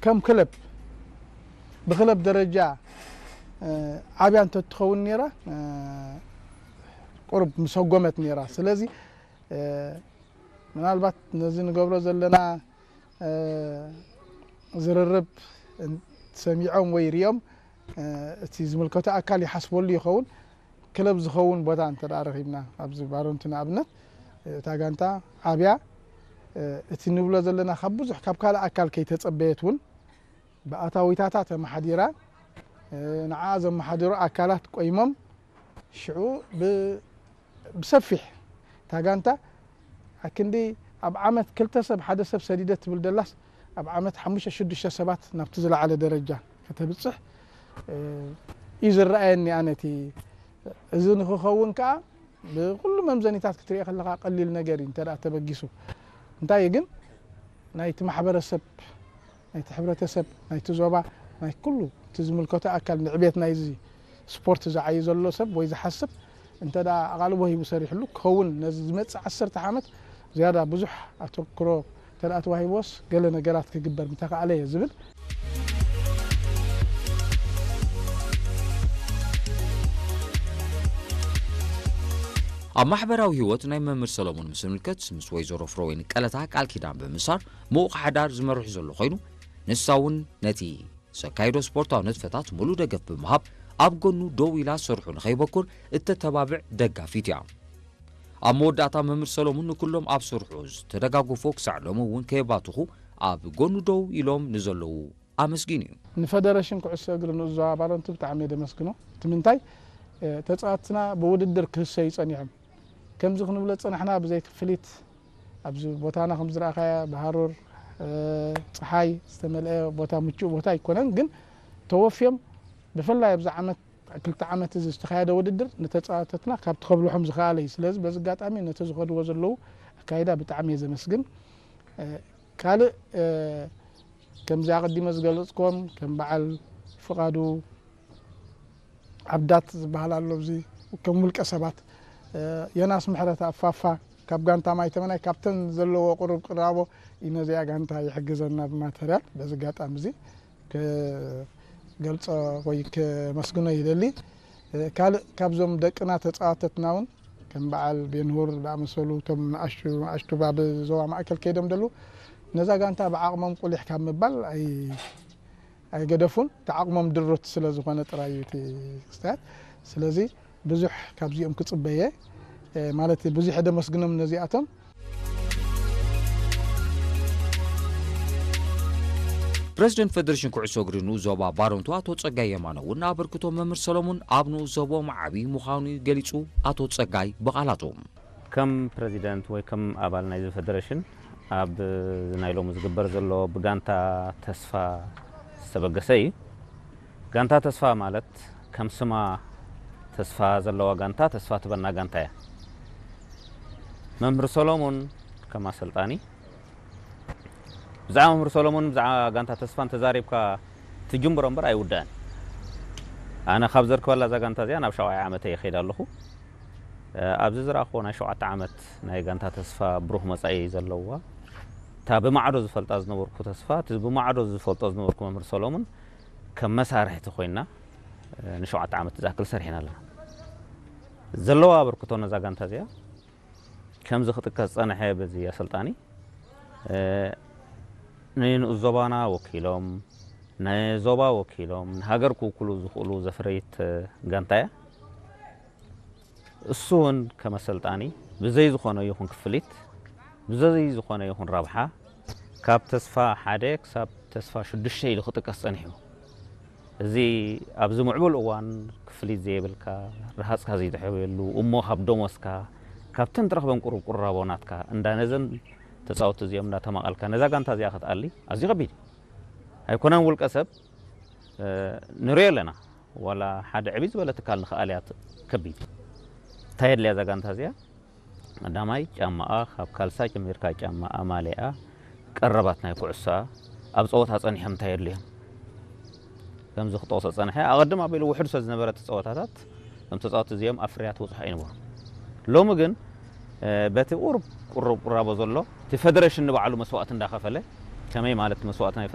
ከም ክለብ ብክለብ ደረጃ ዓብያ እንተትኸውን ነይራ ቁሩብ ምሰጎመት ነይራ። ስለዚ ምናልባት ነዚ ንገብሮ ዘለና ዝርርብ ሰሚዖም ወይ ሪኦም እቲ ዝምልከቶ ኣካል ይሓስበሉ ይኸውን። ክለብ ዝኸውን ቦታ እንተ ረኺብና ኣብዚ ባሮንቲ ንኣብነት እታ ጋንታ ዓብያ እቲ ንብሎ ዘለና ካብ ብዙሕ ካብ ካልእ ኣካል ከይተጸበየት እውን ብኣታዊታታ ተመሓዲራ ንዓ ዘመሓድሩ ኣካላት ቆይሞም ሽዑ ብሰፊሕ እታ ጋንታ ኣክንዲ ኣብ ዓመት ክልተ ሰብ ሓደ ሰብ ሰዲደ ትብል ደላስ ኣብ ዓመት ሓሙሽተ ሽዱሽተ ሰባት ናብቲ ዝለዓለ ደረጃ ከተብፅሕ እዩ ዝረኣየኒ ኣነ እቲ እዚ ንክኸውን ከዓ ብኩሉ መምዘኒታት ክትሪኦ ከለካ ቀሊል ነገር እዩ እንተ ተበጊሱ እንታይ ግን ናይቲ ማሕበረሰብ ናይቲ ሕብረተሰብ ናይቲ ዞባ ናይ ኩሉ እቲ ዝምልከቶ ኣካል ንዕቤት ናይዚ ስፖርት ዝዓዩ ዘሎ ሰብ ወይ ዝሓስብ እንተ ኣቓልቦ ሂቡ ሰሪሕሉ ክኸውን ነዚ ዝመፅእ ዓሰርተ ዓመት ዝያዳ ብዙሕ ኣተክሮ እንተ ተዋሂቦስ ገለ ነገራት ክግበር ምተኻእለ እየ ዝብል። ኣብ ማሕበራዊ ህይወት ናይ መምህር ሰሎሞን ምስ ንምልከት ምስ ወይዘሮ ፍረወይኒ ቀለታ ቃል ኪዳን ብምሳር ምዉቕ ሓዳር ዝመርሑ ዘሎ ኮይኑ ንሳ እውን ነቲ ዘካይዶ ስፖርታዊ ንጥፈታት ሙሉእ ደገፍ ብምሃብ ኣብ ጎኑ ደው ኢላ ስርሑ ንኸይበኩር እተተባብዕ ደጋፊት እያ። ኣብ መወዳእታ መምህር ሰሎሙን ንኩሎም ኣብ ስርሑ ዝተደጋገፎ ክሳዕ ሎሚ እውን ከየባትኹ ኣብ ጎኑ ደው ኢሎም ንዘለዉ ኣመስጊኑ እዩ። ንፈደረሽን ኩዕሶ እግሪ ንኡስ ዞባ ባረንቱ ብጣዕሚ እየ ደመስግኖ። እቲ ምንታይ ተፃወትትና ብውድድር ክህሰዩ ፀኒሖም ከምዚ ክንብሎ ዝፀናሕና ብዘይ ክፍሊት ኣብዚ ቦታና ከም ዝረኣኻያ ብሃሩር ፀሓይ ዝተመልአ ቦታ ምቹእ ቦታ ኣይኮነን፣ ግን ተወፍዮም ብፍላይ ኣብዚ ዓመት ክልተ ዓመት እዚ ዝተኻየደ ውድድር ንተፃወተትና ካብ ትኸብልሖም ዝኸኣለ እዩ። ስለዚ በዚ ኣጋጣሚ ነቲ ዝኸድዎ ዘለዉ ኣካይዳ ብጣዕሚ እየ ዘመስግን። ካልእ ከምዚ ኣቐዲመ ዝገለፅክዎም ከም በዓል ፍቓዱ ዓብዳት ዝበሃል ኣሎ ኣብዚ ከም ውልቀ ሰባት ዮናስ ምሕረት ኣፋፋ ካብ ጋንታ ማይተመናይ ካብተን ዘለዎ ቁሩብ ቅራቦ እዩ ነዚኣ ጋንታ ይሕግዘና ብማተርያል በዚ ኣጋጣሚ እዚ ክገልፆ ወይ ከመስግኖ ይደሊ። ካልእ ካብዞም ደቅና ተፃዋተትና እውን ከም በዓል ቤንሁር ዝኣመሰሉ እቶም ንኣሽቱ ንኣሽቱ ባብ ዞባ ማእከል ከይዶም ደሉ ነዛ ጋንታ ብዓቕሞም ቁሊሕ ካብ ምባል ኣይ ኣይገደፉን እቲ ዓቕሞም ድሩት ስለ ዝኾነ ጥራይ እዩ እቲ ክስታያት ስለዚ ብዙሕ ካብዚኦም ክፅበየ ማለት ብዙሕ ደመስግኖም ነዚኣቶም። ፕረዚደንት ፈደሬሽን ኩዕሶ እግሪ ንኡስ ዞባ ባረንቱ ኣቶ ጸጋይ የማነ እውን ኣበርክቶ መምህር ሰሎሙን ኣብ ንኡስ ዞቦም ዓብዪ ምዃኑ ገሊጹ። ኣቶ ጸጋይ ብቓላቱ ከም ፕረዚደንት ወይ ከም ኣባል ናይዚ ፈደረሽን ኣብ ናይ ሎሚ ዝግበር ዘሎ ብጋንታ ተስፋ ዝተበገሰ እዩ። ጋንታ ተስፋ ማለት ከም ስማ ተስፋ ዘለዋ ጋንታ ተስፋ ትበና ጋንታ እያ። መምህር ሰሎሙን ከም ኣሰልጣኒ ብዛዕባ መምህር ሰሎሙን ብዛዕባ ጋንታ ተስፋ እንተዛሪብካ ትጅምሮ እምበር ኣይውዳእን። ኣነ ካብ ዘርክበላ እዛ ጋንታ እዚኣ ናብ ሻውዓይ ዓመተይ ይኸይድ ኣለኹ። ኣብዚ ዝረኣኽዎ ናይ ሸውዓተ ዓመት ናይ ጋንታ ተስፋ ብሩህ መጻኢ ዘለዋ እታ ብማዕዶ ዝፈልጣ ዝነበርኩ ተስፋ እቲ ብማዕዶ ዝፈልጦ ዝነበርኩ መምህር ሰሎሙን ከም መሳርሕቲ ኮይና ንሸውዓተ ዓመት ዝኣክል ሰሪሕና ኣለና። ዘለዋ ኣበርክቶ ነዛ ጋንታ እዚኣ ከምዚ ክጥቀስ ዝጸንሐ በዚ ኣሰልጣኒ ንንኡስ ዞባና ወኪሎም ንዞባ ወኪሎም ንሃገር ክውክሉ ዝኽእሉ ዘፍረየት ጋንታ እያ። እሱ እውን ከም ኣሰልጣኒ ብዘይ ዝኾነ ይኹን ክፍሊት ብዘይ ዝኾነ ይኹን ረብሓ ካብ ተስፋ ሓደ ክሳብ ተስፋ ሽዱሽተ ኢሉ ክጥቀስ ጸኒሑ። እዚ ኣብዚ ምዕቡል እዋን ክፍሊት ዘየብልካ፣ ረሃጽካ ዘይትሕብየሉ፣ እሞ ካብ ደሞዝካ፣ ካብተን ትረኽበን ቁሩብ ቁራቦ ናትካ እንዳ ነዘን ተጻወትቲ እዚኦም እንዳ ተማቐልካ ነዛ ጋንታ እዚኣ ክትኣሊ ኣዝዩ ከቢድ እዩ። ኣይኮነን ውልቀ ሰብ ንሪኦ ኣለና። ዋላ ሓደ ዕብይ ዝበለ ትካል ንኽኣልያ ከቢድ እዩ። እንታይ የድልያ እዛ ጋንታ እዚኣ? ቀዳማይ ጫማኣ ካብ ካልሳ ጀሚርካ ጫማኣ ማልያኣ ቀረባት ናይ ኩዕሶኣ ኣብ ጸወታ ጸኒሖም እንታይ የድልዮም ከምዚ ክጠቕሶ ጸንሐ ኣቐድም ኣቢሉ ውሕድ ስለ ዝነበረ እቲ ጸወታታት እዞም ተጻወቲ እዚኦም ኣብ ፍርያት በጽሑ ኣይነበሩ ሎሚ ግን በቲ ቁሩብ ቁሩብ ቁራቦ ዘሎ እቲ ፈደረሽን ንባዕሉ መስዋእቲ እንዳኸፈለ ከመይ ማለት መስዋእቲ ናይ